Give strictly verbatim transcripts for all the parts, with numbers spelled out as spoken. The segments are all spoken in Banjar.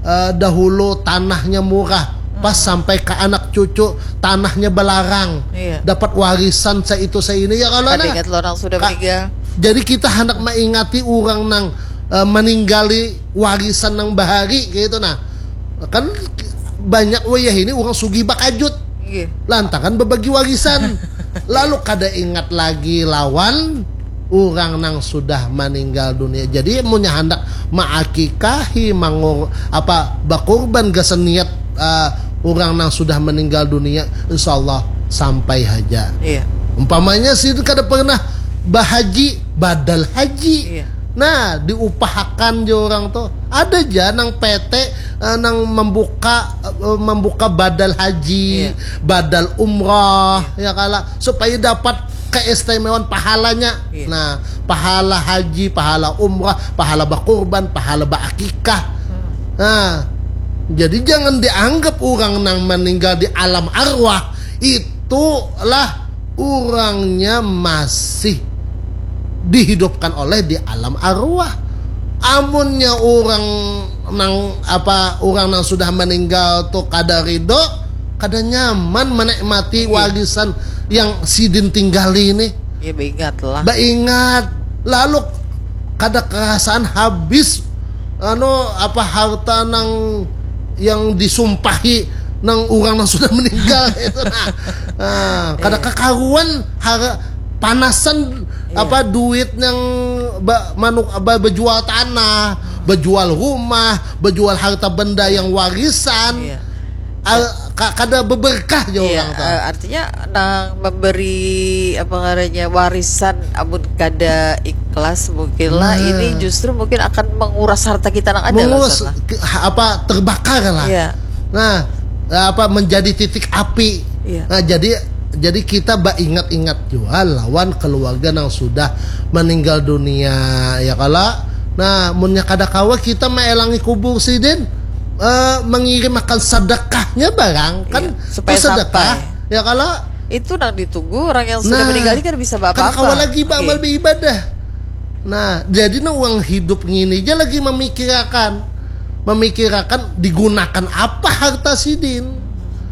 eh, dahulu tanahnya murah, pas sampai ke anak cucu tanahnya belarang, Iya. dapat warisan seitu seini, ya kalau Kada nah. Ingat lo orang sudah Ka- meninggal. Jadi kita hendak mengingati orang nang eh, meninggali warisan nang bahari kayak itu nah. Kan banyak wayah ini orang sugih bakajut. Iya. Lantaran berbagi warisan. Lalu kada ingat lagi lawan orang nang sudah meninggal dunia. Jadi munnya hendak maakikahi mangur apa bakurban gasan niat eh, orang nang sudah meninggal dunia, insyaallah sampai haja. Iya. Umpamanya sidin kada pernah bahaji, badal haji. Iya. Nah, diupahakan je orang tuh. Ada ja nang P T eh, nang membuka eh, membuka badal haji, Iya. badal umrah, ya kala, supaya dapat keistimewaan pahalanya. Iya. Nah, pahala haji, pahala umrah, pahala bakurban, pahala baakikah. Nah, jadi jangan dianggap orang nang meninggal di alam arwah itulah orangnya masih dihidupkan oleh di alam arwah. Amunnya orang nang apa orang nang sudah meninggal tuh kada ridho, kada nyaman menikmati warisan yang sidin tinggali ini. Ya, beingat lah. Baingat, lalu kada kerasaan habis anu apa harta nang yang disumpahi nang orang nang sudah meninggal itu nah. Nah, kada kekaruan har panasan apa duit yang ba, manuk ba, bejual tanah, bejual rumah, bejual harta benda yang warisan. Iya. Al, ka, kada beberkah je Iya, orang tuh. Eh, artinya nang memberi apa ngarannya warisan amun kada ikhlas mungkin lah Nah. Ini justru mungkin akan menguras harta kita nang ada lah Menguras Ustaz, lah. ke- ha- apa terbakar lah. Iya. Nah, apa menjadi titik api. Iya. Nah, jadi jadi kita baingat-ingat jua lawan keluarga yang sudah meninggal dunia ya kala. Nah, munnya kada kawa kita maelangi kubur sidin eh, mengirim akan sedekahnya barang kan Iya, supaya tu sedekah sampai. Ya kala. Itu nang ditunggu orang yang sudah Nah, meninggal ini kada bisa kan apa-apa. Kawa lagi beramal Oke. beribadah. Nah, jadi nah uang hidup ngini aja lagi memikirakan, memikirakan digunakan apa harta sidin.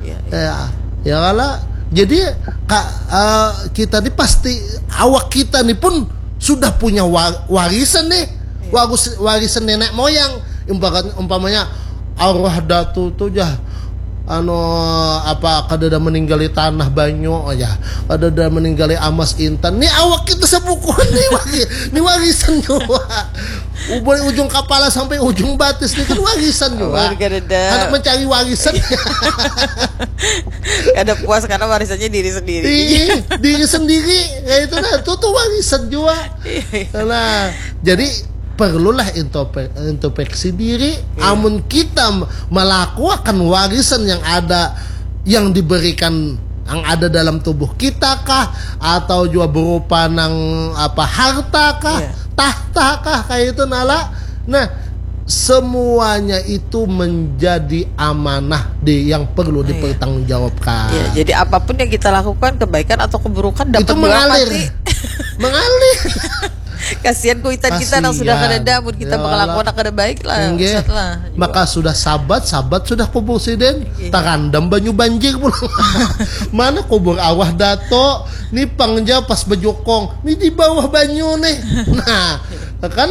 Iya, iya. Ya, ya kala. Jadi ka, eh, kita ni pasti awak kita ni pun sudah punya wa- warisan nih. Waris- warisan nenek moyang. Umpamanya, umpamanya arwah datu tuh jah anu apa kada ada meninggali tanah banyu aja, kada ada meninggali amas intan. Ni awak kita sepukuan ni wari- ni warisan jua. Mulai ujung kepala sampai ujung batis ni kan warisan jua. Amun kada ada. Anak mencari warisan. Kada puas karena warisannya diri sendiri. Ih, diri sendiri kayak itu nah itu tuh warisan jua. Nah, jadi perlulah intrope- introspeksi diri. Amun kita m- melakukan warisan yang ada yang diberikan yang ada dalam tubuh kita kah atau juga berupa nang apa harta kah Iya. tahta kah kayak itu nala nah semuanya itu menjadi amanah di yang perlu Iya. Dipertanggungjawabkan. Ya, jadi apapun yang kita lakukan kebaikan atau keburukan dapat Itu dua mengalir. Pati. Mengalir. Kasihan kuitan kita nang sudah Kasihan. Kada ada, mun kita Ya mengelakuan Allah. Kada baik lah. Enggak. Ustaz lah. Maka sudah sabat, sabat sudah kubur siden. Iya. Tarandam banyu banjir pulang. Mana kubur awah dato? Ni pangja pas bejokong. Ni di bawah banyu nih. Nah, kan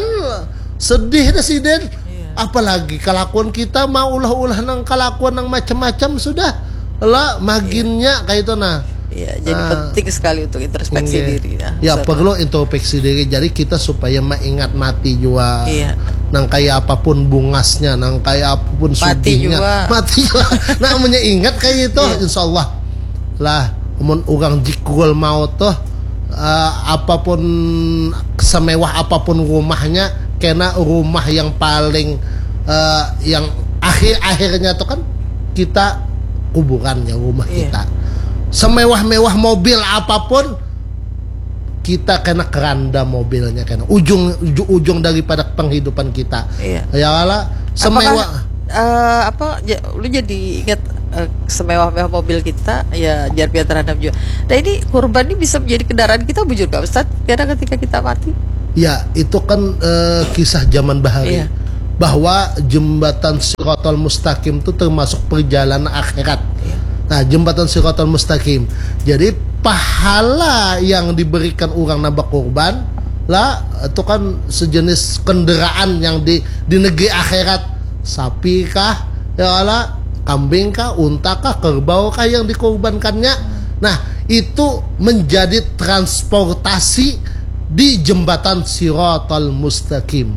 sedih dah siden. Iya. Apalagi kelakuan kita mau ulah-ulah nang kelakuan nang macam-macam sudah lah maginnya kayak itu nah. Iya, jadi Ah. Penting sekali untuk introspeksi Iya. diri. Nah, Ya Ustaz. Perlu introspeksi diri. Jadi kita supaya mengingat mati juga. Iya. Nang kayak apapun bungasnya, nang kayak apapun Mati sugihnya, juga. Mati juga. Nah, punya ingat kayak itu, Iya. Insya Allah lah. Mun orang jikul mau tuh eh, apapun semewah apapun rumahnya, kena rumah yang paling eh, yang akhir akhirnya tuh kan kita kuburannya rumah Iya. Kita. Semewah-mewah mobil apapun kita kena keranda mobilnya kena ujung uju- ujung daripada penghidupan kita. Iya. Ya lah semewah Apakah, eh, apa ja- lu jadi ingat eh, semewah-mewah mobil kita ya jar pian terhadap juga. Nah ini kurban ini bisa menjadi kendaraan kita bujur gak Ustaz? Karena ketika kita mati. Ya itu kan eh, kisah zaman bahari. Iya. bahwa jembatan Siratal Mustaqim itu termasuk perjalanan akhirat. Nah, jembatan Siratal Mustaqim. Jadi pahala yang diberikan orang nang bakurban lah itu kan sejenis kendaraan yang di di negeri akhirat. Sapi kah, ya Allah, kambing kah, unta kah, kerbau kah yang dikorbankannya. Nah, itu menjadi transportasi di jembatan Siratal Mustaqim.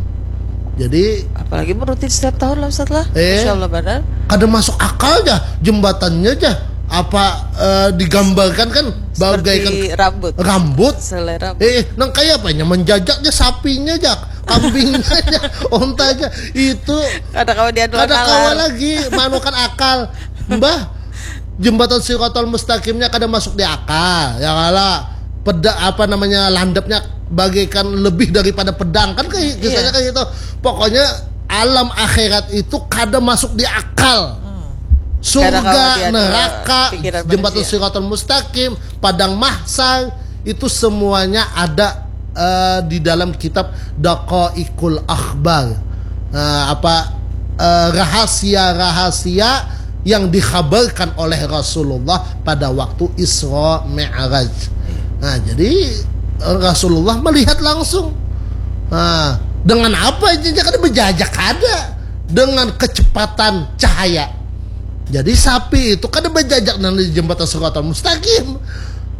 Jadi Apalagi merutin setiap tahun lah Ustaz lah. Eh. Insya Allah benar. Kada masuk akal aja jembatannya aja apa eh, digambarkan kan bagaikan Seperti rambut. Rambut. Selai rambut. Eh, nang kayak apanya menjajaknya sapinya aja, kambingnya aja, ontanya itu Kada kawa diadu kada akal. Kawa lagi manukan akal. Mbah, jembatan Siratal Mustaqimnya kada masuk di akal, ya kala. Peda apa namanya landepnya bagaikan lebih daripada pedang kan kayak kisahnya Iya. Kayak gitu. Pokoknya alam akhirat itu kada masuk di akal. Hmm. Surga, Kada kawa diadu neraka, pikiran jembatan manusia. Siratal Mustaqim, padang mahsar itu semuanya ada eh, di dalam kitab Daqaiqul Akhbar. Eh, apa eh, rahasia-rahasia yang dikhabarkan oleh Rasulullah pada waktu Isra Mi'raj. Nah, jadi eh, Rasulullah melihat langsung. Nah, dengan apa aja kada berjajak ada dengan kecepatan cahaya. Jadi sapi itu kada berjajak nang di jembatan Siratal Mustaqim.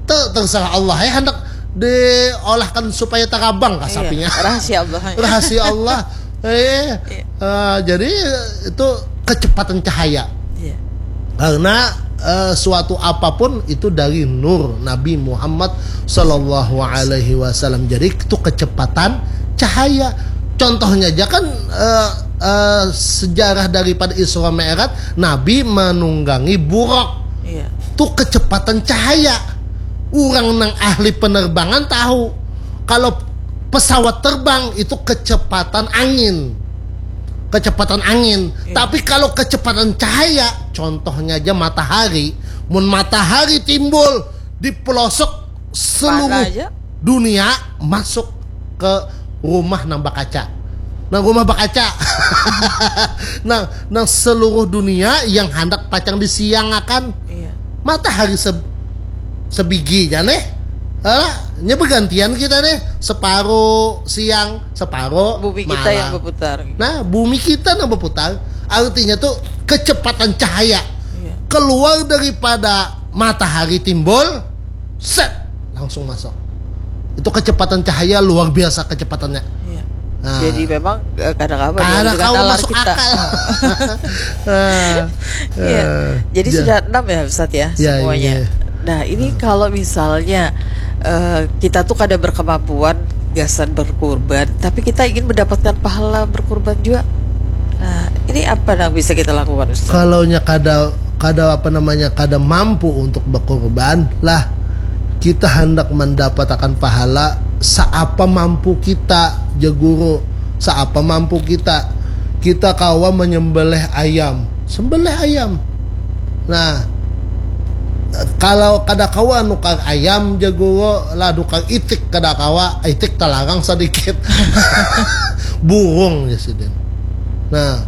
Ter- terserah Allah ya hendak diolahkan supaya tarabang kah Iya, sapinya. Rahasia Allah. Rahasia Allah. Eh, eh, jadi itu kecepatan cahaya. Iya. Karena eh, suatu apapun itu dari nur Nabi Muhammad Sallallahu Alaihi Wasallam. Jadi itu kecepatan cahaya. Contohnya aja kan eh, eh, sejarah daripada Isra Mi'raj, Nabi menunggangi buraq. Iya. Itu kecepatan cahaya. Orang nang ahli penerbangan tahu kalau pesawat terbang itu kecepatan angin. Kecepatan angin. Iya. Tapi kalau kecepatan cahaya, contohnya aja matahari, mun matahari timbul di pelosok seluruh Mana aja? Dunia masuk ke rumah nang bakaca. Nah, rumah bakaca. Nah, nang seluruh dunia yang hendak pacang disiangakan. Iya. Matahari se sebigi nya nih. Alah, nya bergantian kita nih, separuh siang, separuh Bumi kita malam. Yang berputar. Nah, bumi kita nang berputar, artinya tuh kecepatan cahaya Iya. Keluar daripada matahari timbul, set, langsung masuk. Itu kecepatan cahaya luar biasa kecepatannya. Iya. Nah. Jadi memang eh, kada kawa Kada dengan kawa nalar masuk kita. Akal. Eh, Iya. eh, Jadi ya. Sudah enam ya Ustaz ya Ya, semuanya. iya. Nah ini kalau misalnya eh, kita tuh kada berkemampuan gasan berkurban, tapi kita ingin mendapatkan pahala berkurban juga. Nah ini apa yang bisa kita lakukan Ustaz? Kalau nya kada kada apa namanya kada mampu untuk berkurban lah, kita hendak mendapatkan pahala seapa mampu kita, ja guru, seapa mampu kita. Kita kawa menyembelih ayam, sembelih ayam. Nah, kalau kada kawa nukar ayam ja guru lah, nukar itik kada kawa, itik talarang sedikit. Burung ya sidin. Nah,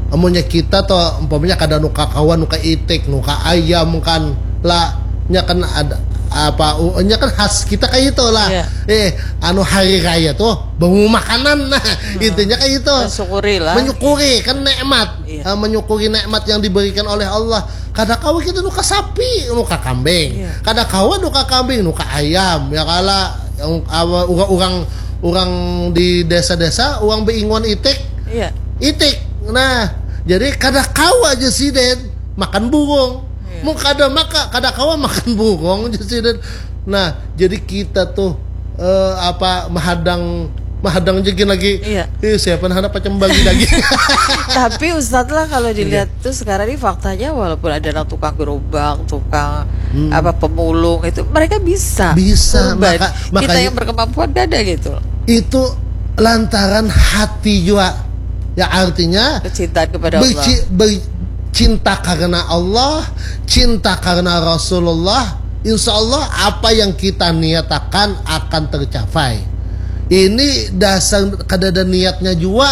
amunnya kita tuh umpamanya kada nukar kawa nukar itik, nukar ayam kan lah, nya kan ada apa u- nya kan khas kita kayak itu lah. Iya. Eh, anu hari raya tuh bau makanan nah intinya kayak itu. Mensyukuri lah. Menyukuri kan nikmat. Iya. Ah, menyukuri nikmat yang diberikan oleh Allah. Kada kawa kita nuka sapi, nuka kambing. Iya. Kada kawa nuka kambing, nuka ayam. Ya kala yang apa, orang orang orang di desa-desa, orang beinguan itik. Iya. Itik. Nah, jadi kada kawa aja siden makan burung. Iya. Mun kada maka kada kawa makan burung aja siden. Nah, jadi kita tuh eh, apa mahadang mahadang jegin lagi. Iya. Eh, siapa nah anak pacam bagi lagi. Tapi Ustadz lah kalau dilihat tuh sekarang ini faktanya walaupun ada orang tukang gerobak, tukang Hmm. apa pemulung itu mereka bisa. Bisa, Kurban. maka- Kita makanya- yang berkemampuan gak ada gitu. Itu lantaran hati juga. Ya artinya Kecintaan kepada Allah. berci- ber- cinta karena Allah, cinta karena Rasulullah, insya Allah apa yang kita niatakan akan tercapai. Ini dasar kada ada niatnya juga.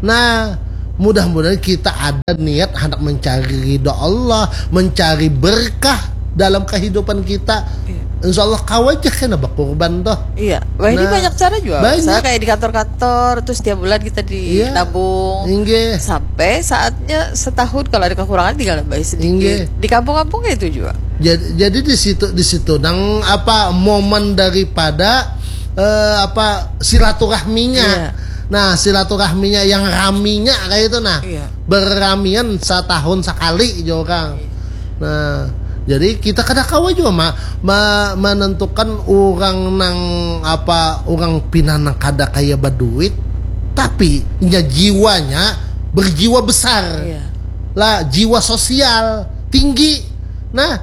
Nah, mudah-mudahan kita ada niat hendak mencari ridho Allah, mencari berkah dalam kehidupan kita. Iya. Insya Allah kawa aja kena berkorban toh. Iya, wah, ini Nah, banyak cara juga. Banyak. Misalnya kayak di kantor-kantor, terus tiap bulan kita Iya. Dinabung. Inggih. Sampai saatnya setahun kalau ada kekurangan tinggal nambahi sedikit. Inggih. Di kampung-kampung kayak itu juga. Jadi, jadi di situ di situ nang apa momen daripada eh, apa silaturahminya. Iya. Nah, silaturahminya yang raminya kayak itu nah. Iya. Berramian setahun sekali aja orang. Iya. Nah, jadi kita kada kawa juga ma, ma, menentukan orang nang apa orang pina nang kada kaya berduit, tapi nya jiwanya berjiwa besar. Iya. Lah, jiwa sosial tinggi. Nah,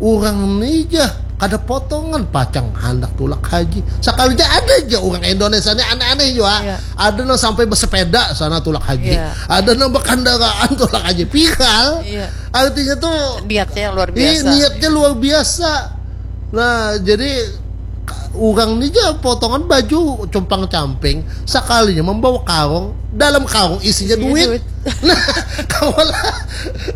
orang ni jah kada potongan pacang handak tulak haji. Sekalinya ada aja orang Indonesia ni aneh-aneh juga. Iya. Ada nang sampai bersepeda sana tulak haji. Iya. Ada nang berkendaraan tulak haji. Piral. Iya. Artinya tuh niatnya yang luar biasa. Iya, niatnya luar biasa. Nah, jadi orang ni aja potongan baju compang camping, sekalinya membawa karung, dalam karung isinya isinya duit. Duit. Nah, kawalah.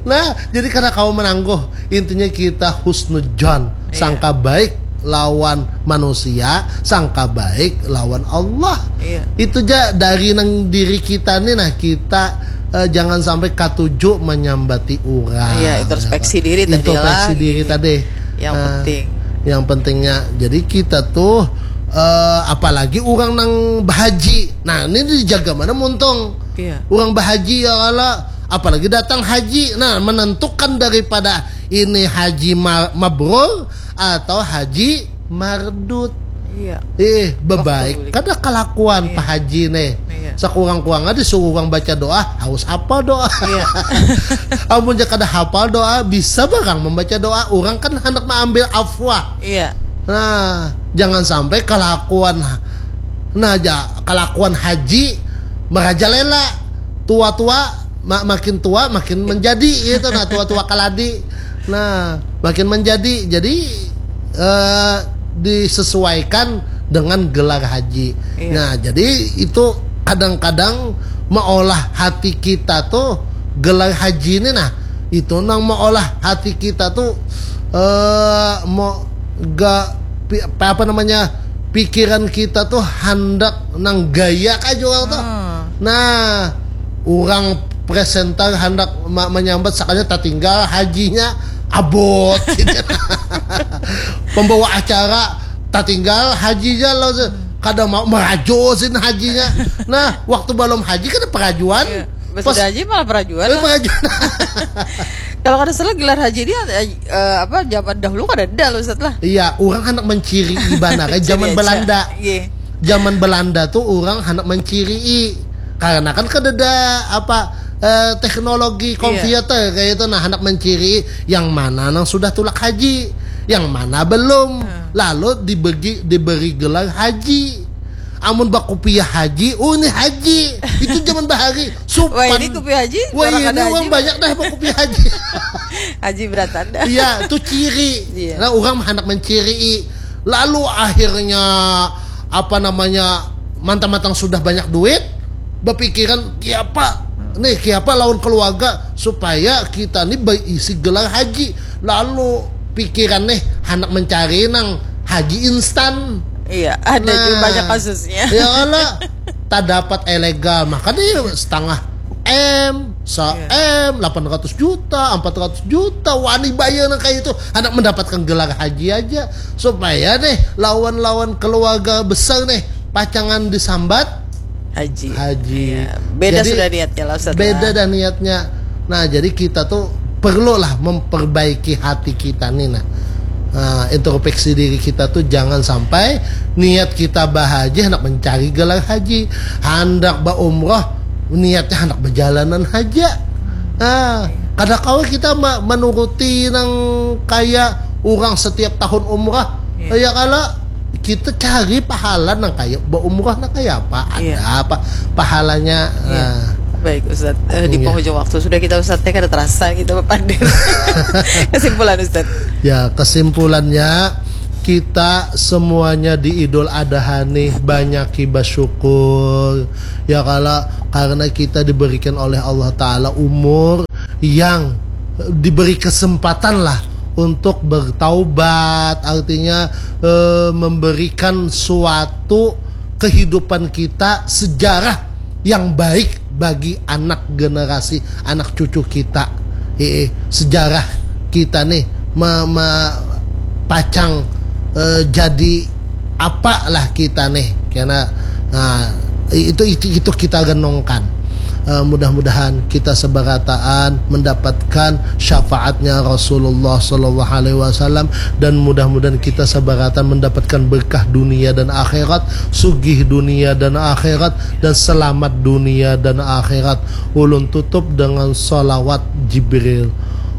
Nah, jadi karena kau menangguh, intinya kita husnujon, iya. Sangka baik lawan manusia, sangka baik lawan Allah. Iya. Itu aja dari nang diri kita nih nah kita eh, jangan sampai katuju menyambati orang. Iya, introspeksi diri tadi. Introspeksi diri tadi. Yang nah, penting. Yang pentingnya, jadi kita tuh uh, apalagi orang nang bahaji. Nah, ini dijaga mana muntung. Iya. Orang bahaji ya Allah, apalagi datang haji. Nah, menentukan daripada ini haji mabrur atau haji mardud. Iya. Eh, bebaik kada kalakuan iya. Pak Haji nih. Iya. Sekurang-kurangnya disuruh orang baca doa, harus hafal doa. Iya. Amun kada hafal doa, bisa barang membaca doa. Orang kan hendak mengambil afwa. Iya. Nah, jangan sampai kalakuan nah aja kalakuan haji merajalela tua-tua ma makin tua makin menjadi gitu nah tua-tua kaladi nah makin menjadi jadi eh, disesuaikan dengan gelar haji. Iya. Nah, jadi itu kadang-kadang meolah hati kita tuh gelar haji ini nah itu nang meolah hati kita tuh eh mau ga apa namanya pikiran kita tuh handak nang gaya kah jual tuh. Hmm. Nah, orang presenter handak menyambat sakanya tatinggal hajinya abot gitu. Pembawa acara tatinggal hajinya lo kada mau merajo sin hajinya. Nah, waktu belum haji kan perajuan. Iya. Pas sudah haji malah perajuan. Perajuan. Kalau kada salah gelar haji ini uh, apa zaman dahulu kada ada loh setelah. Iya, orang anak menciri ibadah kayak zaman Belanda. Iya. Zaman Belanda tuh orang anak menciri karena kan kada ada apa uh, teknologi iya. Komputer kayak itu nah anak menciri yang mana nang sudah tulak haji, yang mana belum. Hmm. Lalu dibagi diberi gelar haji. Amun bakupiah haji, oh ini haji. Itu zaman bahari. Supan. Wah, ini kupiah haji. Wah, ini orang banyak dah bakupiah haji. Haji beratan dah. Iya, itu ciri. Iya. Nah, orang hendak menciri. Lalu akhirnya apa namanya mantang-mantang sudah banyak duit, berpikiran kiapa nih kiapa lawan keluarga supaya kita nih berisi gelar haji. Lalu pikiran nih hendak mencari nang haji instan. Iya, ada nah, juga banyak kasusnya. Ya Allah, tak dapat ilegal, maka dia setengah M, se M, delapan ratus juta, empat ratus juta, wani bayar nang kayak itu, anak mendapatkan gelar haji aja, supaya deh lawan-lawan keluarga besar nih pacangan disambat haji. Haji. Iya. Beda jadi, sudah niatnya lah, Ustaz. Beda dah niatnya. Nah, jadi kita tuh perlulah memperbaiki hati kita nih nah. Nah, introspeksi diri kita tuh jangan sampai niat kita bahaji hendak mencari gelar haji, hendak berumroh niatnya hendak berjalanan haja. Nah, kada kau kita menuruti nang kayak orang setiap tahun umrah. Iya. Ya kalau kita cari pahala nang kayak berumrah nang kayak apa? Ada iya. Apa pahalanya? Iya. Nah. Baik Ustaz, eh, di iya. Penghujung waktu sudah kita Ustaz teh kada terasa kita berpandir. Kesimpulan Ustaz. Ya, kesimpulannya kita semuanya di Idul Adha nih banyaki bersyukur, ya kalo, karena kita diberikan oleh Allah Ta'ala umur yang diberi kesempatan lah untuk bertaubat, artinya eh, memberikan suatu kehidupan kita, sejarah yang baik bagi anak generasi, anak cucu kita. Eh, sejarah kita nih me, me, pacang eh, jadi apa lah kita nih, karena nah, itu, itu itu kita renungkan. Eh, mudah-mudahan kita seberataan mendapatkan syafaatnya Rasulullah Sallallahu Alaihi Wasallam, dan mudah-mudahan kita seberataan mendapatkan berkah dunia dan akhirat, sugih dunia dan akhirat, dan selamat dunia dan akhirat. Ulun tutup dengan salawat Jibril.